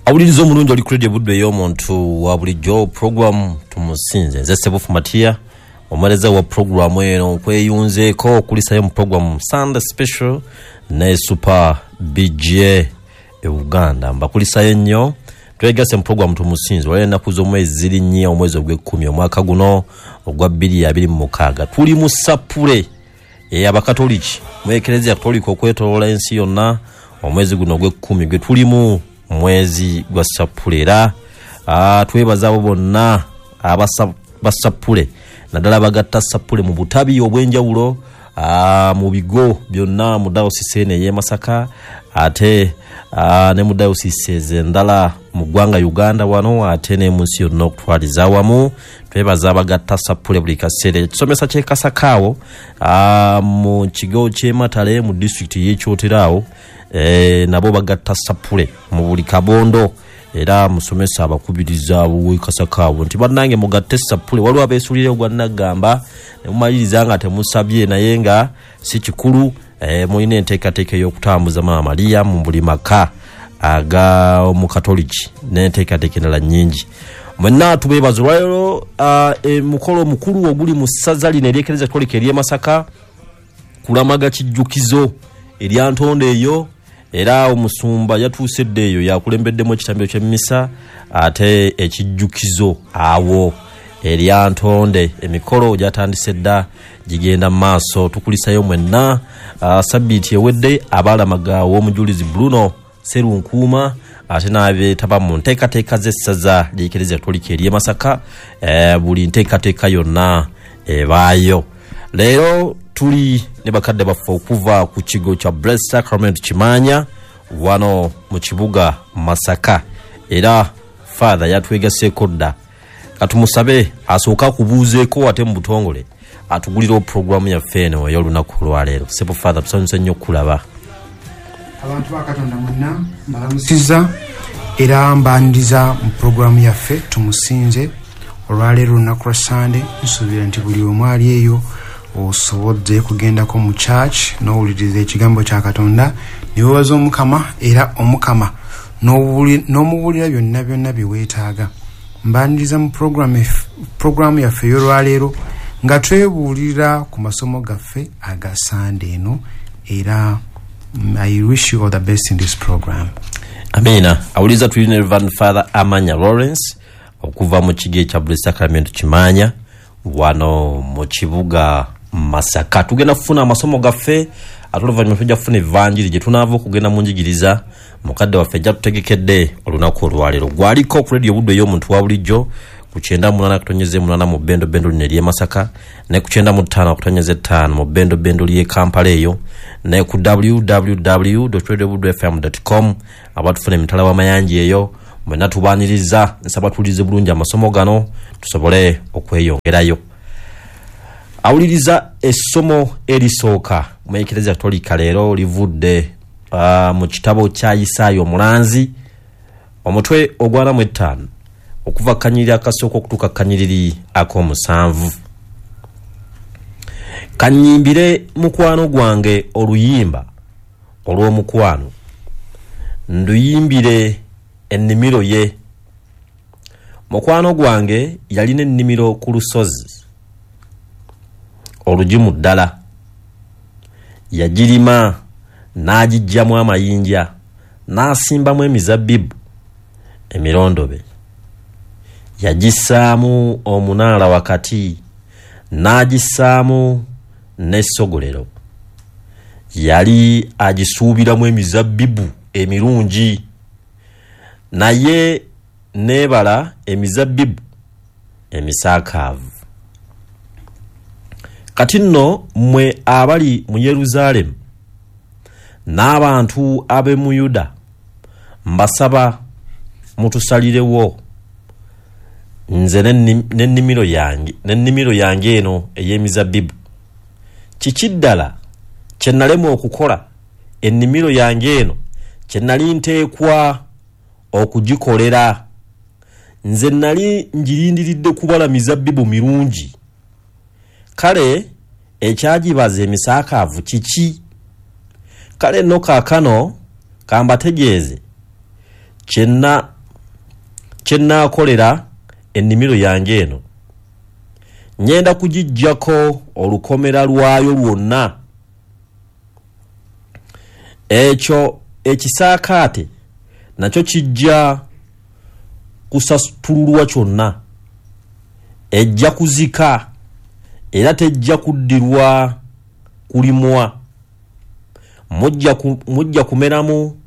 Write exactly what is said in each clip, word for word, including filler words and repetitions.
Awuliriza omulungi oli ku Radio Buddu ey'omuntu wa bulijjo, program Tumusinze. Nze Sebufu Matiya, omuweereza wa programu eno, nkweyunzeeko okulisayo mu program Sunday Special ne Super B J e Uganda. Mbakulisayo nnyo, twegase mu program Tumusinze. Olwaleero ennaku z'omwezi ziri nnya, omwezi ogw'ekkumi omwaka guno ogwa bbiri abiri mu mukaaga. Tuli mu Ssapule ey'Abakatoliki mu Eklezia Katolika okwetooloola ensi yonna. Omwezi guno ogw'ekkumi gwe tulimu, mwezi gwa Ssapule, era twebaza abo bonna abasapule, naddala abagatta Ssapule mu butabi obw'enjawulo mu bigo byonna mu dayosisi eno ey'e Masaka, ate ne mu dayosisi endala mu ggwanga Uganda wano, ate ne mu nsi yonna okutwaliza awamu. Twebaza abagatta Ssapule buli kaseera. Ekisomesa ky'e Kasaka awo mu kigo ky'e Matale mu disitulikiti y'e Kyotera awo, e, nabo bagatta Ssapule mu buli kabondo, era musomesa abakubiriza w'e Kasaka awo nti bannange mugatte Ssapule. Waliwo abeesulira ogwa Naggamba ne mumaliriza nga temusabye, naye nga si kikulu. E, mulina enteekateeka ey'okutambuza Maama Maria mu buli maka aga omukatoliki n'enteekateeka endala nnyingi. Mwenna tubeebaza olwaleero. Emukolo omukulu oguli mu ssaza lino ery'Eklezia Katolika ery'e Masaka kulamaga kijjukizo erya Ntonde eyo, era omusumba yatuuse dda eyo, yakulembeddemu ekitambiro ky'emmisa ate ekijjukizo awo erya Ntonde. Emikolo gyatandise dda, gigenda mu maaso. Tukulisayo mwenna. Sabbiiti ewedde abaalamaga w'omujulizi Bruno Serunkuuma, ate n'abeetaba mu nteekateeka z'essaza ly'Eklezia Katolika ery'e Masaka, buli nteekateeka yonna ebaayo. Leero tuli ne bakadde baffe okuva ku kigo kya Blessed Sacrament Kimaanya wano mu kibuga Masaka, era Father yatwegaseeko dda. Katumusabe asooka akubuuzeeko ate mu butongole atugulira puroguramu yaffe eno ey'olunaku olwaleero. Sebo Father, tusanyuse nnyo okulaba. Abantu ba Katonda mwenna mbalamusizza era mbaniriza mu puroguramu yaffe Tumusinze. Olwaleero olunaku lwa Sande, nsuubira nti buli omu ali eyo osobodde kugendako mu church n'owuliriza ekigambo kya Katonda, ne weebaza Omukama, era Omukama n'omubuulira byonna byonna bye weetaaga. Mbaniriza mu puroguramu yaffe ey'olwaleero nga twebuulira ku masomo gaffe aga Sande eno, era I wish you all the best in this program. Amina. Awuliza tulina Reverend Father Amanya Lawrence okuva mu kigo ekya Blessed Sacrament Kimaanya wano mu kibuga Masaka. Tugenda kufuna amasomo gaffe, ate oluvannyuma tujja kufuna evanjiri gye tunaava okugenda mu njigiriza mukadde waffe ajja tutegekedde olunaku olwaleero. Gwaliko ku Radio Buddu ey'omuntu wa bulijjo ku kyenda munaana kutonyeza munaana mu bbendo bbendo lino ery'e Masaka, ne ku kyenda mu ttaano kutonyeza ttaano mu bbendo bbendo ly'e Kampala eyo, ne ku w w w dot radio buddu f m dot com abatufuna emitala w'amayanja eyo. Mwenna tubaaniriza, nsaba tuwulirize bulungi amasomo gano tusobole okweyongerayo. Awuliriza essomo erisooka mu Eklezia Katolika leero livudde uh, mu kitabo kya Isaaya omulanzi, omutwe ogwana mu ttaano okuva kanyiriri akasooka okutuuka kanyiriri ak'omusanvu. Kanyimbire mukwano gwange oluyimba olw'omukwano, nduyimbire ennimiro ye. Mukwano gwange yalina ennimiro ku lusozi olugimu ddala, yagirima n'agiggyamu amayinja n'asimbamu emizabbibu emirondobe, yagissaamu omunaala wakati n'agissaamu n'essogolero. Yali agisuubiramu emizabbibu emirungi, naye n'ebala emizabbibu emisaakaavu. Kati nno mmwe abali mu Yeruzaalemu n'abantu ab'e mu Yuda, mbasaba mutusalirewo nze n'ennimiro yange n'ennimiro yange eno ey'emizabbibu. Kiki ddala kye nalema okukola ennimiro yange eno kye nali nteekwa okugikolera? Nze nali ngirindiridde kubala mizabbibu mirungi, kale ekyagibaza emisaakaavu kiki? Kale nno kaakano kambategeeze kyenna kye nnaakolera ennimiro yange eno. Ngenda kugiggyako olukomera lwayo lwonna. Ekyo ekisaakaate nakyo kijja kusasutululwa kyonna, ejja kuzika era tejja kuddirwa kulimwa. Mujja ku, mujja kumeramu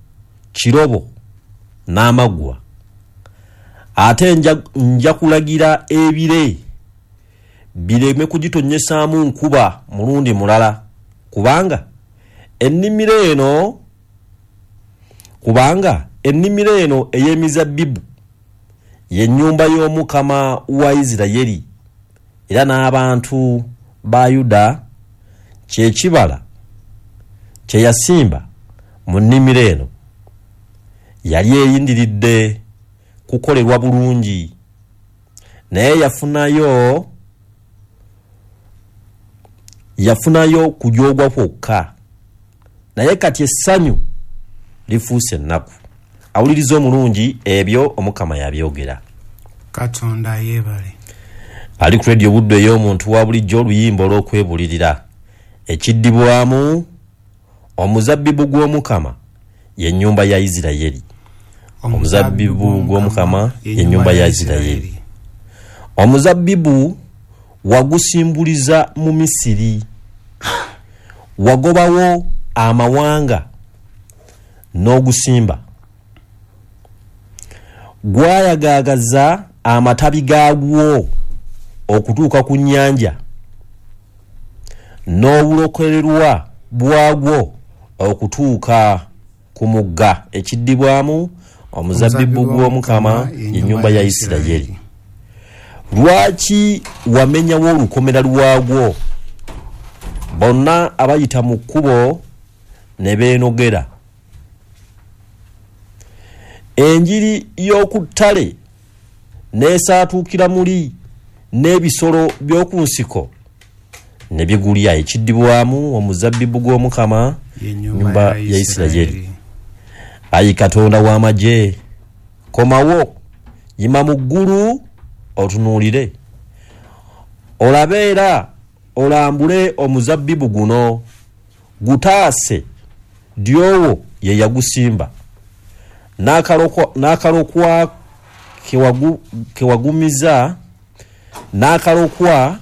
kirobo n'amaggwa. Ate nja, nja kulagira ebire bireme kugitonnyesaamu nkuba mulundi mulala, kubanga ennimiro eno kubanga ennimiro eno ey'emizabbibu ye nnyumba y'Omukama wa Isirayiri, era n'abantu ba Yuda kye kibala kye yasimba mu nnimiro eno. Yali eyindiridde kukolerwa bulungi, naye yafunayo yafunayo kujoogwa kwokka, naye kati essanyu lifuuse ennaku. Awuliriza omulungi, ebyo Omukama yabyogera. Katonda yeebale. Ali ku Radio Buddu ey'omuntu wa bulijjo, oluyimba olw'okwebulirira ekiddibwamu omuzabbibu gw'Omukama ye nnyumba ya Isirayiri. Omuzabbibu gw'Omukama ye nnyumba ya Isirayiri. Omuzabbibu wagusimbuliza mu Misiri, wagobawo amawanga n'ogusimba, gwayagaagaza amatabi gaagwo okutuuka ku nnyanja, n'obulokolerwa bwagwo okutuuka ku mugga. Ekiddibwamu omuzabbibu gw'Omukama ye nnyumba ya Isirayiri. Lwaki wamenyawo olukomera lwagwo? Bonna abayita mu kkubo ne beenogera. Enjiri y'oku ttale n'esaatuukira muli, n'ebisolo by'oku nsiko ne bigulya. Ekiddibwamu omuzabbibu gw'Omukama ye nnyumba ya Isirayiri. Ayi Katonda w'amagye, komawo, yima mu ggulu otunuulire, olabe era olambule omuzabbibu guno, gutaase dyowo ye yagusimba, n'akalokwa n'akalokwa kewagu, kewagumiza n'akalokwa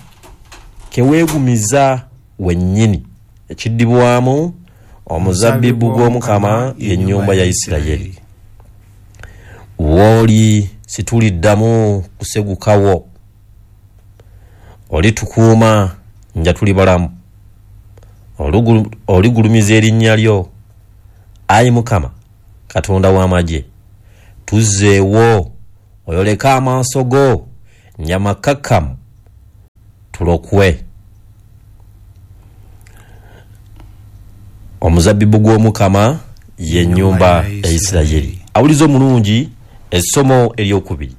keweegumiza wennyini. Ekiddibwamu omuzabbibu gw'Omukama ye nnyumba ya Isirayiri. W'oli situliddamu kusegukawo, olitukuuma nja tuli balamu, oligulumiza erinnya lyo. Ayi Mukama Katonda w'amagye, tuzzeewo, oyoleke amaaso go nyamakkakkamu tulokwe. Omuzabbibu gw'Omukama ye nnyumba ya Isirayiri. Awuliza omulungi, essomo eryokubiri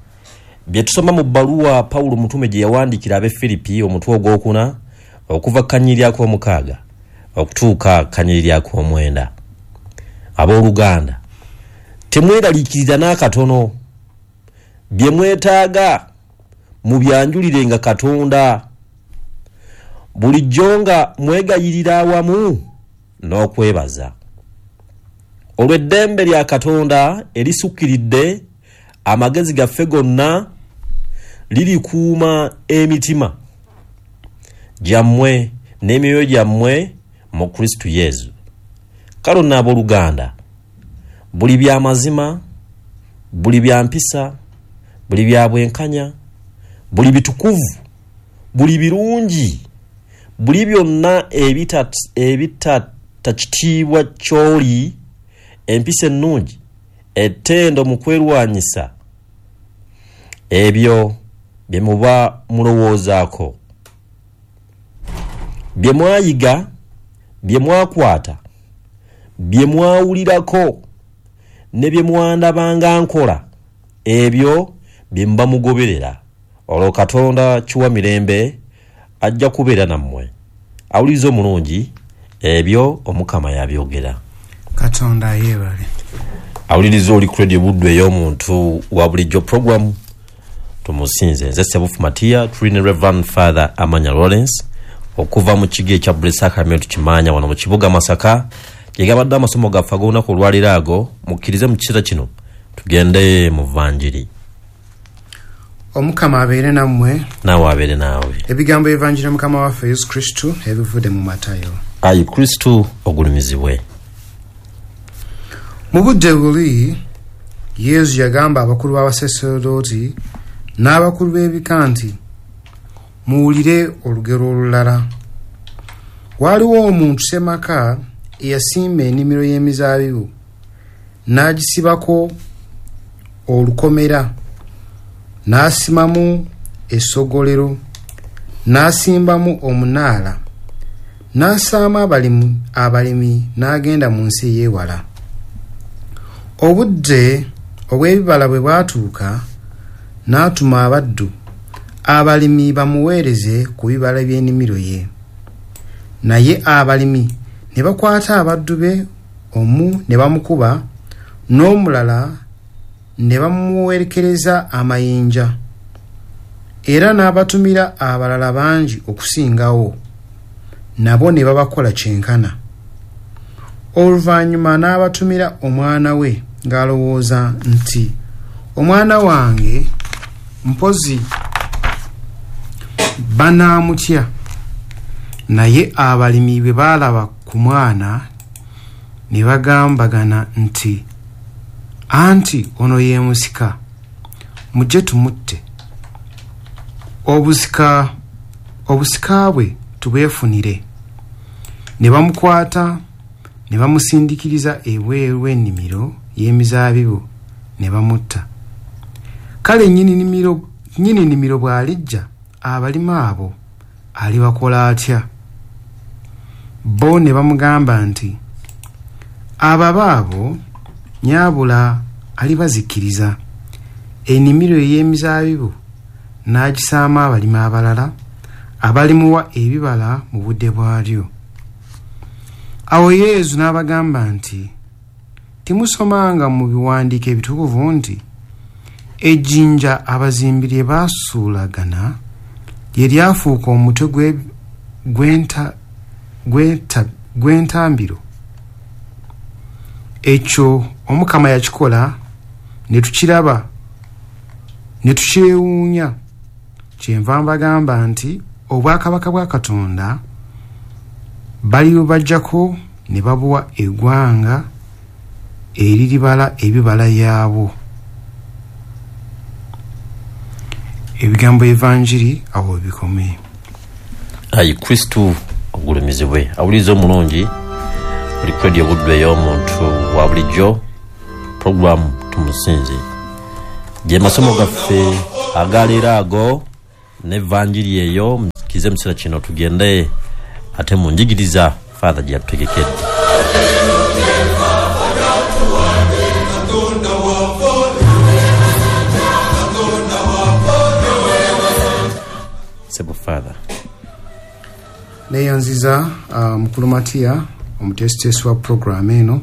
bye tusoma mu bbaluwa Pawulo mutume gye yawandiikira ab'e Firipi, omutwe ogwokuna okuva kanyiriri ak'omukaaga okutuuka kanyiriri ak'omwenda. Abooluganda, temweraliikirira n'akatono. Bye mwetaaga mubyanjulirenga Katonda bulijjo nga mwegayirira awamu n'okwebaza, olw'eddembe lya Katonda erisukkiridde amagezi gaffe gonna lirikuuma emitima gyammwe n'emyoyo gyammwe mu Kristo Yesu. Kale nno abooluganda, buli bya mazima, buli bya mpisa, buli bya bwenkanya, buli bitukuvu, buli birungi, buli byonna ebitatta kitiibwa ky'oli, empisa ennungi, ettendo mu kwerwanyisa, ebyo bye muba mulowoozaako, bye mwayiga, bye mwakwata, bye mwawulirako ne bye mwandabanga nkola, ebyo bye muba mugoberera. Olwo Katonda kiwa mirembe ajja kubeera nammwe. Awuliriza omulungi, ebyo Omukama yabyogera. Katonda yeebale. Awuliriza oli ku Radio Buddu ey'omuntu wa bulijjo, program Tumusinze. Nze Sebufu Matiya, tuli ne Reverend Father Amanya Lawrence okuva mu kigo ekya Blessed Sacrament Kimanya wano mu kibuga Masaka. Gye gabadde amasomo gaffe ag'olunaku olwaleero ago, mukkirize mu kiseera kino tugende mu Vanjiri. Omukama abeere nammwe. Naawe abeere naawe. Ebigambo evanjiri Mukama waffe Yesu Kristo ebivudde mu Matayo. Ayi Kristo ogulumizibwe. Mu budde buli Yesu yagamba abakulu b'abasaserdooti n'abakulu b'ebika nti, muwulire olugero olulala. Waaliwo omuntu ssemaka eyasimba ennimiro y'emizaabibu n'agisibako olukomera, n'asimamu essogolero, n'asimbamu omunaala, n'asaamu abalimi abalimi n'agenda mu nsi ey'ewala. Obudde obw'ebibala bwe bwatuuka, n'atuma abaddu abalimi bamuweereze ku bibala by'ennimiro ye. Naye abalimi ne bakwata abaddu be, omu ne bamukuba, n'omulala ne bamuwerekereza amayinja, era n'abatumira abalala bangi okusingawo, nabo ne babakola kyenkana. Oluvannyuma n'abatumira omwana we ng'alowooza nti, omwana wange mpozi banaamutya. Naye abalimi bwe baalaba ku mwana ne bagambagana nti, anti ono ye musika, mujje tumutte, obusika obusika bwe tubwefunire. Ne bamukwata ne bamusindikiriza ebweru w'ennimiro y'emizaabibu ne bamutta. Kale nnyini nnimiro nnyini nnimiro bw'alijja, abalimi abo alibakola atya? Bo ne bamugamba nti, ababa abo nnyabula alibazikiriza, ennimiro ey'emizaabibu n'agisaamu abalimi abalala abalimuwa ebibala mu budde bwalyo. Awo Yesu n'abagamba nti, timusomanga mu biwandiiko ebitukuvu nti, ejjinja abazimbi lye baasuulagana lye lyafuuka omutwe gw'entambiro. Ekyo Omukama yakikola ne tukiraba ne tukyewuunya. Kyenva mbagamba nti obwakabaka bwa Katonda balibubaggyako ne babuwa eggwanga eriribala ebibala yaabwo. Ebigambo evanjiri awo bikome. Ayi Kristo ogulumizibwe. Awuliriza omulungi oli ku Radio Buddu ey'omuntu wa bulijjo, program Tumusinze. Gye masomo gaffe agaleero ago n'evanjiri eyo, mukize mu kiseera kino tugende ate mu njigiriza Father gye yatutegekedde. Sebo Father. Neyanziza uh, Mukulu Matiya omuteesiteesi wa program eno,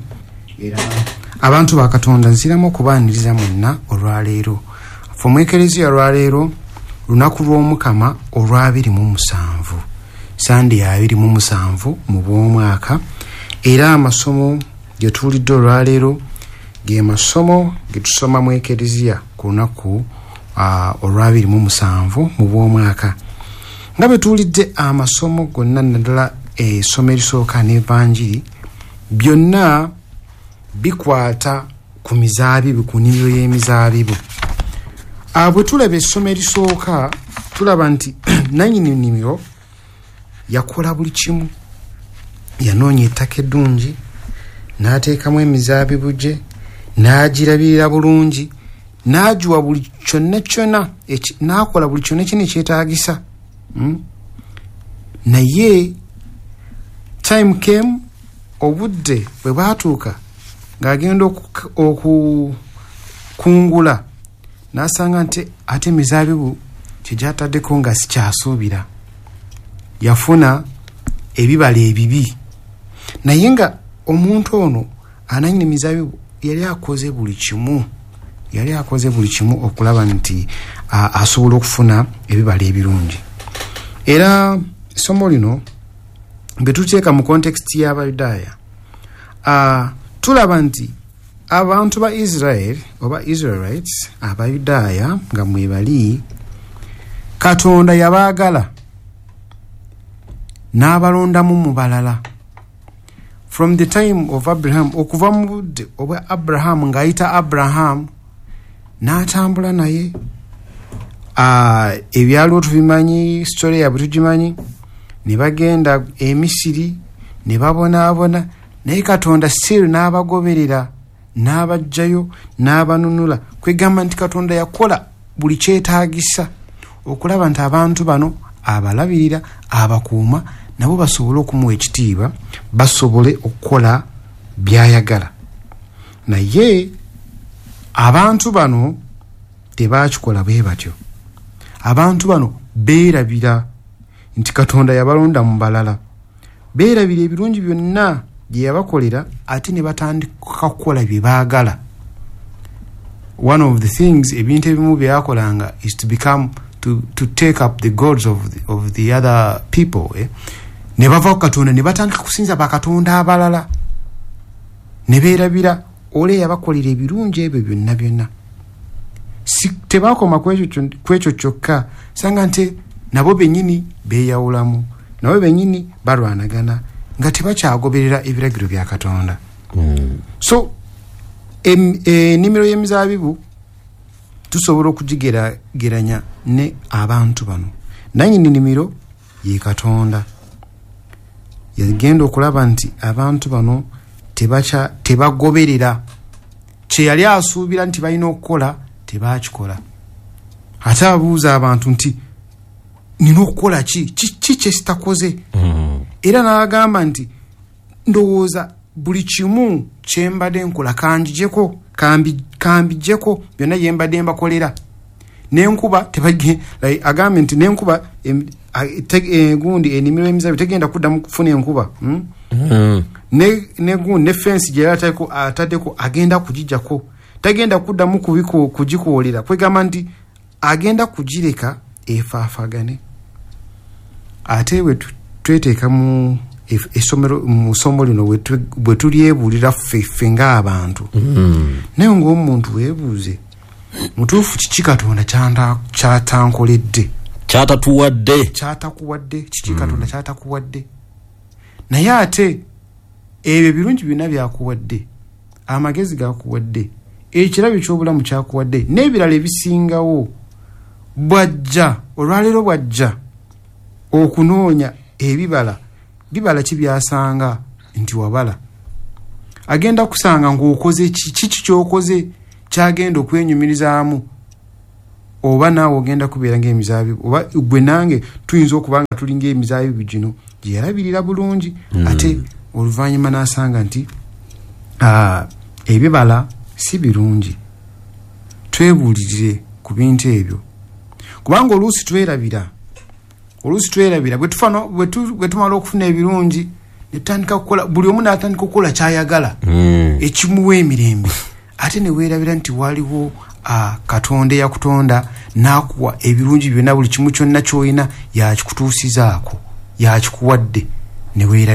era abantu ba Katonda nziramu okubaaniriza mwenna olwaleero. Ffe mu Ekereziya olwaleero lunaku lw'Omukama olw'abiri mu musanvu, Sande ya abiri mu musanvu mu bw'omwaka, era amasomo ge tuwulidde olwaleero ge masomo ge tusoma mu Ekereziya ku lunaku uh, olw'abiri mu musanvu mu bw'omwaka. Nga bwe tuwulidde amasomo gonna, naddala essomo erisooka n'evanjiri, byonna bikwata ku mizaabibu, ku nnimiro y'emizaabibu. Bwe tulaba essomo erisooka, tulaba nti nannyini nnimiro yakola buli kimu. Yanoonya ettaka eddungi, n'ateekamu emizaabibu gye, n'agirabirira bulungi, n'agiwa buli kyonna kyonna, n'akola buli kyonna kyonna ekyetaagisa. Mm? Naye time came, obudde bwe bwatuuka ng'agenda okukungula, n'asanga nti ate emizaabibu kye gyataddeko nga sikyasuubira. Yafuna ebibala ebibi. Naye nga omuntu ono ananyini emizaabibu yali akoze buli kimu, yali akoze buli kimu okulaba nti asobola okufuna ebibala ebirungi. Era essomo lino bwe tuteeka mu context y'Abayudaaya, tulaba nti abantu ba Israel oba Israelites, Abayudaaya nga mwebali, Katonda yabaagala n'abalondamu mu balala. From the time of Abraham, okuva mu budde obwa Abraham, ng'ayita Abraham n'atambula naye, ebyaliwo tubimanyi, story yaabwe tugimanyi, ne bagenda e Misiri ne babonaabona, naye Katonda still n'abagoberera n'abajjayo n'abanunula. Kwegamba nti Katonda yakola buli kyetaagisa okulaba nti abantu bano abalabirira, abakuuma, nabo basobole okumuwa ekitiibwa, basobole okukola by'ayagala. Naye abantu bano tebakikola bwe batyo. Abantu bano beerabira nti Katonda yabalonda mu balala, beerabira ebirungi byonna bye yabakolera, ate ne batandika kukola bye baagala. One of the things, ebintu ebimu bye yakolanga is to become to, to take up the gods of the, of the other people, eh? Ne bava ku Katonda ne batandika kusinza bakatonda abalala, ne beerabira ole yabakolera ebirungi ebyo byonna byonna. Si, tebakoma ku ekyo kyokka, sanga nti nabo bennyini beeyawulamu, nabo bennyini balwanagana nga tebakyagoberera ebiragiro bya Katonda. Mm. So ennimiro y'emizaabibu tusobola okugigerageranya ne abantu bano. Nannyini nnimiro ye Katonda. Yagenda okulaba nti abantu bano tebacha tebagoberera kye yali asuubira nti balina okukola, tebakikola. Ate abuuza abantu nti nina okukola ki, ki kye sitakoze? Mm. Era n'agamba nti ndowooza buli kimu kye mbadde nkola kanjijeko, kambijeko byonna bye mbadde mbakolera. N'enkuba like, agambye nti n'enkuba gundi ennimiro y'emizabbibu tegenda kuddamu kufuna enkuba, hmm? Mm. Ne, ne gundi ne fensi gye yali ataddeko agenda kugijjako, tagenda kuddamu kugikoolera. Kwegamba nti agenda kugireka efaafagane. Ate bwe tweteeka mu essomero, mu ssomo lino bwe tulyebuulira ffe ffe ng'abantu, mm. naye ng'omuntu weebuuze mutuufu kiki Katonda kyatankoledde, kyatatuwadde, kyatakuwadde, kiki mm. Katonda kyatakuwadde. Naye ate ebyo ebirungi byonna byakuwadde, amagezi gakuwadde, ekirabo ky'obulamu kyakuwadde, n'ebirala ebisingawo, bwajja olwaleero bwajja okunoonya ebibala, bibala ki byasanga nti wabala? Agenda kusanga ng'okoze ki, kiki ky'okoze kyagenda okwenyumirizaamu, oba naawe ogenda kubeera ng'emizaabibu, oba gwe nange tuyinza okuba nga tuli ng'emizaabibu gino gye yalabirira bulungi, mm. ate oluvannyuma n'asanga nti ebibala si birungi. Twebuulirire ku bintu ebyo, kubanga oluusi twerabira, oluusi twerabira bwe tumala okufuna ebirungi ne tutandika kukola, buli omu n'atandika okukola ky'ayagala, mm. ekimuwa emirembe, ate ne weerabira nti waliwo Katonda eyakutonda n'akuwa ebirungi byonna, buli kimu kyonna ky'olina yakikutuusizaako, yakikuwadde, ne weerabira.